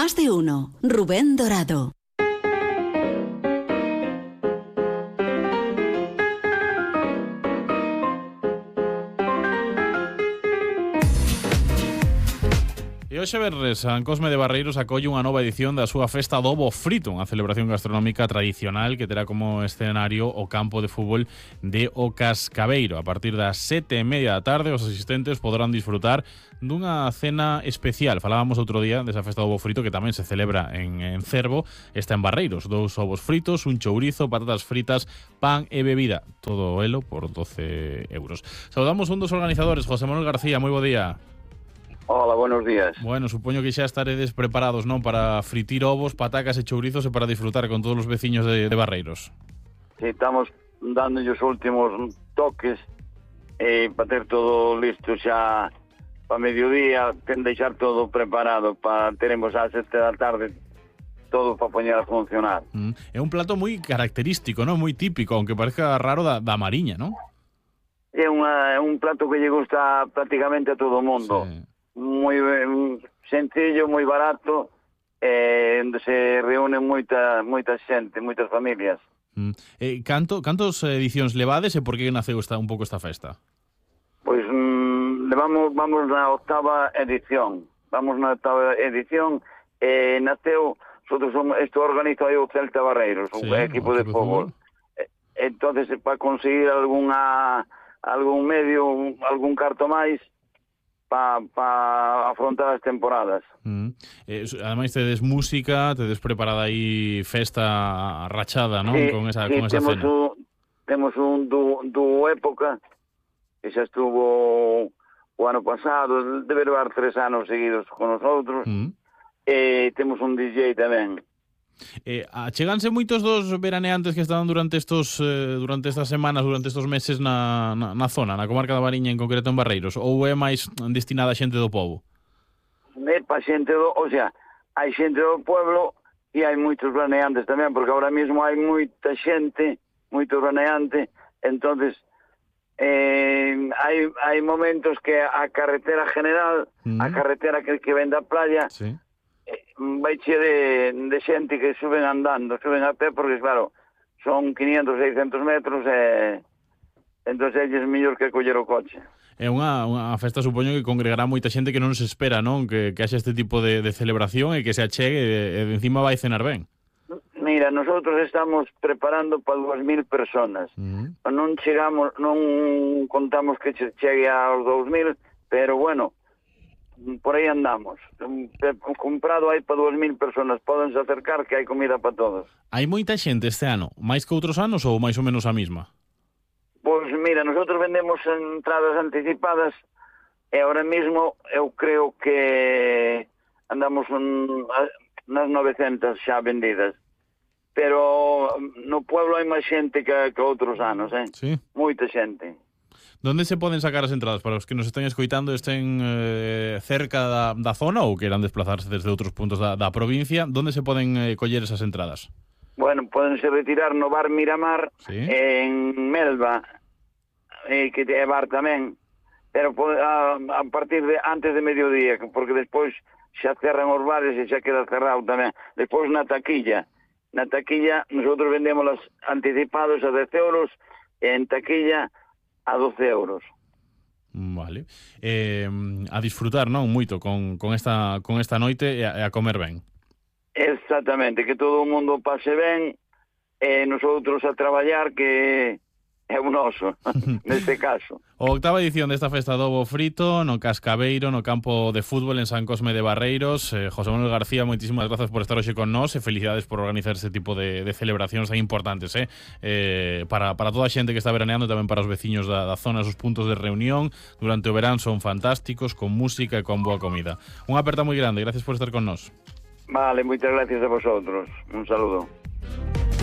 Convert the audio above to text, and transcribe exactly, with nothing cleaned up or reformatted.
Más de uno. Rubén Dorado. E hoxe venres, San Cosme de Barreiros acolle unha nova edición da súa festa do Ovo Frito, unha celebración gastronómica tradicional que terá como escenario o campo de fútbol de O Cascabeiro. A partir das sete e media da tarde, os asistentes poderán disfrutar dunha cena especial. Falábamos outro día desa festa do Ovo Frito que tamén se celebra en, en Cervo. Está en Barreiros, dous ovos fritos, un chourizo, patatas fritas, pan e bebida. Todo elo por doce euros. Saudamos un dos organizadores, José Manuel García. Moi bo día. Hola, buenos días. Bueno, supoño que xa estaredes preparados, non, para fritir ovos, patacas e chourizos e para disfrutar con todos os veciños de, de Barreiros. Sí, estamos dando os últimos toques eh, para ter todo listo xa para mediodía, ten deixar todo preparado para teremos ás sete da tarde todo para poñer a funcionar. Mm. É un plato moi característico, non? Moi típico, aunque parezca raro da, da Mariña, non? É, unha, é un plato que lle gusta prácticamente a todo o mundo. Sí. Moi sencillo, moi barato, eh, onde se reúnen moita moita xente, moitas familias. Mm. Eh, canto, cantos edicións levades e por que naceu esta, un pouco esta festa? Pois mm, levamos, vamos na octava edición. Vamos na octava edición e eh, naceu, nosotros somos, isto organiza o Celta Barreiros, sí, un equipo de fútbol. Eh, entonces, para conseguir alguna algún medio, algún carto máis, para pa afrontar as temporadas. Mm. Eh, ademais tedes música, tedes preparada aí festa rachada, non? Sí, con esa, sí, con esa temos cena. Un, temos un du, du época que xa estuvo o ano pasado, debe levar tres anos seguidos con nosotros, mm. e temos un D J tamén. Eh, acheganse moitos dos veraneantes que están durante estos eh, durante estas semanas, durante estos meses na, na, na zona, na comarca da Mariña, en concreto en Barreiros, ou é máis destinada a xente do pobo? É pa xente do, o sea, hai xente do pueblo e hai moitos veraneantes tamén, porque ahora mesmo hai moita xente, moito veraneante, entonces eh, hai, hai momentos que a carretera general, mm. a carretera que, que ven da playa, sí, vai che de, de xente que suben andando, suben a pé, porque claro, son quinientos, seiscentos metros e entón é mellor que coller o coche. É unha, unha festa, supoño, que congregará moita xente que non se espera, non? Que, que haxa este tipo de, de celebración e que se achegue e, e de encima vai cenar ben. Mira, nosotros estamos preparando para dúas mil personas. Uh-huh. Non chegamos, non contamos que chegue aos dous mil, pero bueno, por aí andamos. Comprado hai para dúas mil personas, podense acercar que hai comida para todos. Hai moita xente este ano, máis que outros anos ou máis ou menos a mesma? Pois mira, nosotros vendemos entradas anticipadas e ahora mesmo eu creo que andamos nas novecentas xa vendidas. Pero no pueblo hai máis xente que, que outros anos, eh? Sí. Moita xente. Donde se poden sacar as entradas para os que nos estén escoitando, estén eh, cerca da, da zona ou queiran desplazarse desde outros puntos da, da provincia? Donde se poden eh, coller esas entradas? Bueno, podense retirar no bar Miramar, ¿sí?, en Melba, eh, que é bar tamén, pero a, a partir de antes de mediodía, porque despois xa cerran os bares e xa queda cerrado tamén. Despois na taquilla, na taquilla nosotros vendemos las anticipados a dez euros e en taquilla a doce euros. Vale. Eh, a disfrutar, non, moito con, con, esta, con esta noite e a, e a comer ben. Exactamente, que todo o mundo pase ben e nosotros a traballar, que é un oso, neste caso. O octava edición desta festa do Ovo Frito no Cascabeiro, no campo de fútbol en San Cosme de Barreiros. eh, José Manuel García, moitísimas grazas por estar hoxe con nós e felicidades por organizar este tipo de, de celebracións tan importantes, eh? Eh, para, para toda a xente que está veraneando, tamén para os veciños da, da zona. Os puntos de reunión durante o verán son fantásticos, con música e con boa comida. Unha aperta moi grande, gracias por estar con nós. Vale, moitas gracias a vosotros. Un saludo.